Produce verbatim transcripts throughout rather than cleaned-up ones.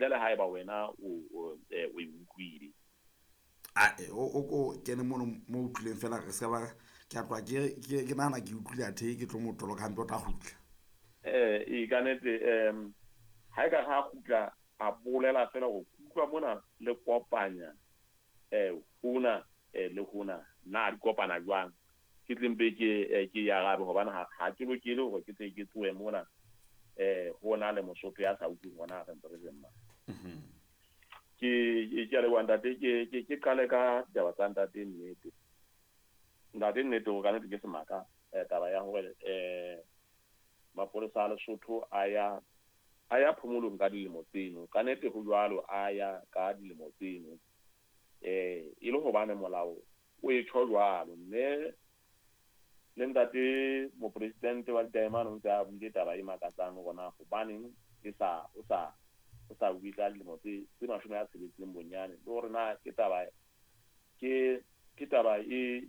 Ntle le haeba wena o o e utlwile. Ae, o ko kene mono mo utlwileng fela re se ba ke a tloha ke ke ke nahana ke utlwile athe ke tlo mo toloka hampe o tla kgutla. Eh e ka nnete em ha e ka ha kgutla a bolela fela go utlwa mona le kopanya eh hona le hona na di kopana jwang ke tle mpe ke ke ya arabe hobane ha ha ke lokele hore ke tle ke tlohe mona eh hona le Mosotho ya sa utlweng hona re ntse re le mma. Ke ke a leboha ntate, ke ke ke qale ka ditaba tsa ntate Nnete. Ntate Nnete o ka nnete ke semaka taba ya hore eh mapolesa a Lesotho a ya a ya phomolong ka dilemo tseno. Ka nnete ho jwalo a ya ka dilemo tseno. Eh e le hobane molao o e tjho jwalo, mme le ntate mopresidente wa Ditaemane o ntse a buile taba e makatsang hore na hobaneng e sa o sa o sa bue ka dilemo tse tse mashome a tsheletseng bonyane, le hore na ke taba ke ke taba e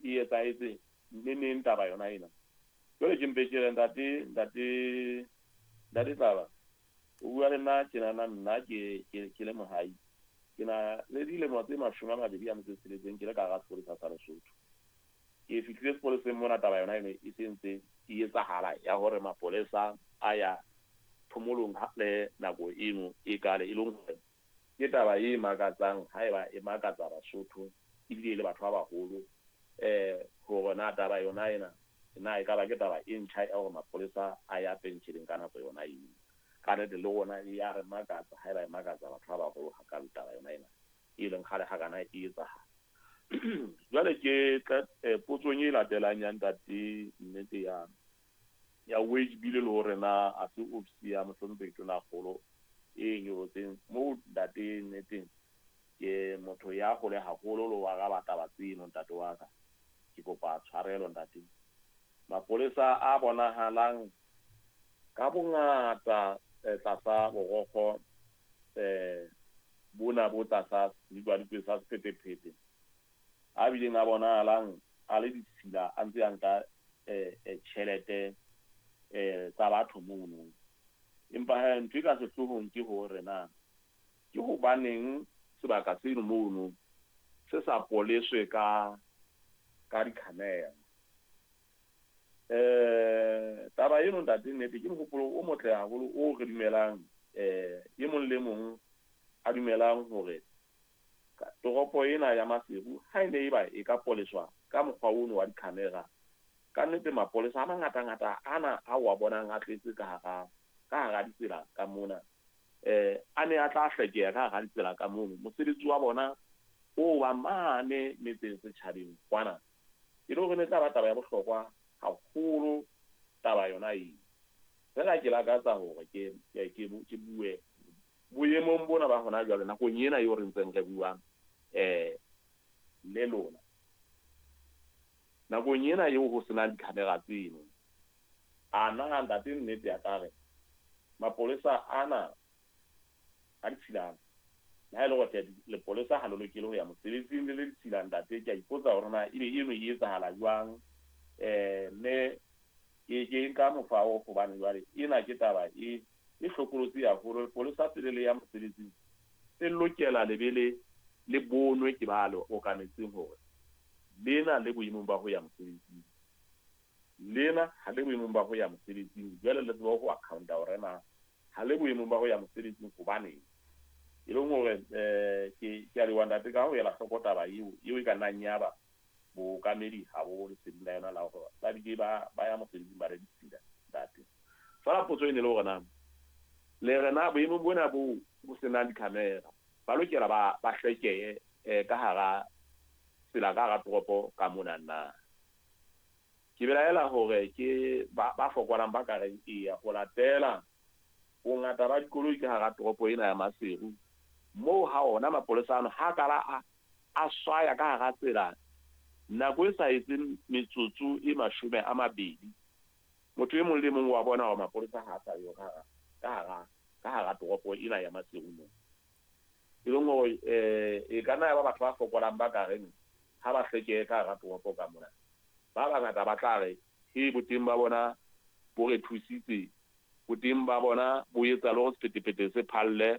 e etsahetse neneng taba yona ena. Jwale ke mpe ke re ntate ntate ntate Tlaba o bua le nna tjenana, nna ke ke ke le mohai, ke na le dilemo tse mashome a mabedi a metso e tsheletseng ke le ka hara sepolesa sa Lesotho. Ke fihlile sepoleseng mona taba yona eno e se ntse e etsahala ya hore mapolesa a ya phomolong le nako eno e kale, e leng hore ke taba e makatsang haeba e makatsa Basotho ebile e le batho ba baholo eh hore na taba yona ena na e ka ba ke taba e ntjha ya hore mapolesa a ya pension ka nako yona eno. Ka nnete le rona e ya re makatsa haeba e makatsa batho ba baholo hakalo taba yona ena e leng kgale hakana e etsahala. Jwale ke tla potsong e latelang ya ntate Nnete ya ya wage bill le hore na a se ofisi ya mohlomphehi Tonakgolo e nyolotseng moo ntate Nnete ke motho ya hole haholo le ho araba taba tseno ntate wa ka. Ke kopa tshwarelo ntate. Mapolesa a bonahalang ka bongata tlasa borokgo eh bona bo tlasa sedikwadikwe sa sephethephethe a bileng a bonahalang a le ditshila a ntse a nka eh tjhelete eh tsa batho mono. Empa he ntho e ka sehloohong ke hore na ke hobaneng sebaka seno mono se sa poleswe ka ka di-camera. Eh taba eno ntate Nnete ke mohopolo o motle haholo o re dumelang eh e mong le mong a dumelang hore toropo ena ya Maseru ha e ne e ba e ka poleswa ka mokgwa ono wa di-camera, ka nnete mapolesa a mangatangata ana a wa bonang a tletse ka hara ka hara ditsela ka mona eh a ne a tla hlekeha ka hara ditsela ka mono. Mosebetsi wa bona o wa mane metseng setjhabeng kwana e le hore ne tla ba taba ya bohlokwa haholo taba yona eo. Fela ke lakatsa hore ke ke ke bue boemong bona ba hona jwale nakong ena eo re ntseng re buang eh le lona, nakong ena eo ho senang di-camera tseno, a na ntate Nnete ya ka re mapolesa ana a ditshilana le ha e le hore lepolesa ha le lokele ho ya mosebetsing le le ditshila ntate, ke a ipotsa hore na ebe eno e etsahala jwang eh mme ke ke nka mokgwa oo hobane jwale ena ke taba e e hlokolotsi haholo. Lepolesa pele le ya mosebetsing le lokela le be le le bonwe ke ba le okametseng hore lena le boemong ba ho ya mosebetsing, lena ha le boemong ba ho ya mosebetsing. Jwale le tseba ho accounta hore na ha le boemong ba ho ya mosebetsing hobaneng. E leng hore eh ke ke a leboha ntate ka ho ela hloko taba eo eo e ka nnang ya ba bookamedi ha bo leseding la yona la hore ba bile ba ba ya mosebetsing ba re ditshila ntate. Fela potso e ne le hore na le re na boemong bona bo bo senang di-camera ba lokela ba ba hlekehe eh ka hara tsela ka hara toropo ka mona na. Ke belaela hore ke ba ba fokolang ba ka reng eya ho latela bongata ba dikoloi ka hara toropo ena ya Maseru moo ha ona mapolesa ano ha kala a a swaya ka hara tsela nako e sa etseng metsotso e mashome a mabedi, motho e mong le mong wa bona hore mapolesa ha a sa yo ka hara ka hara ka hara toropo ena ya Maseru moo. E leng hore eh e ka nna ya ba batho ba fokolang ba ka reng ha ba hlekehe ka hara toropo ka mona, ba bangata ba tla re he boteng ba bona bo re thusitse, boteng ba bona bo etsa le hore sephethephethe se phalle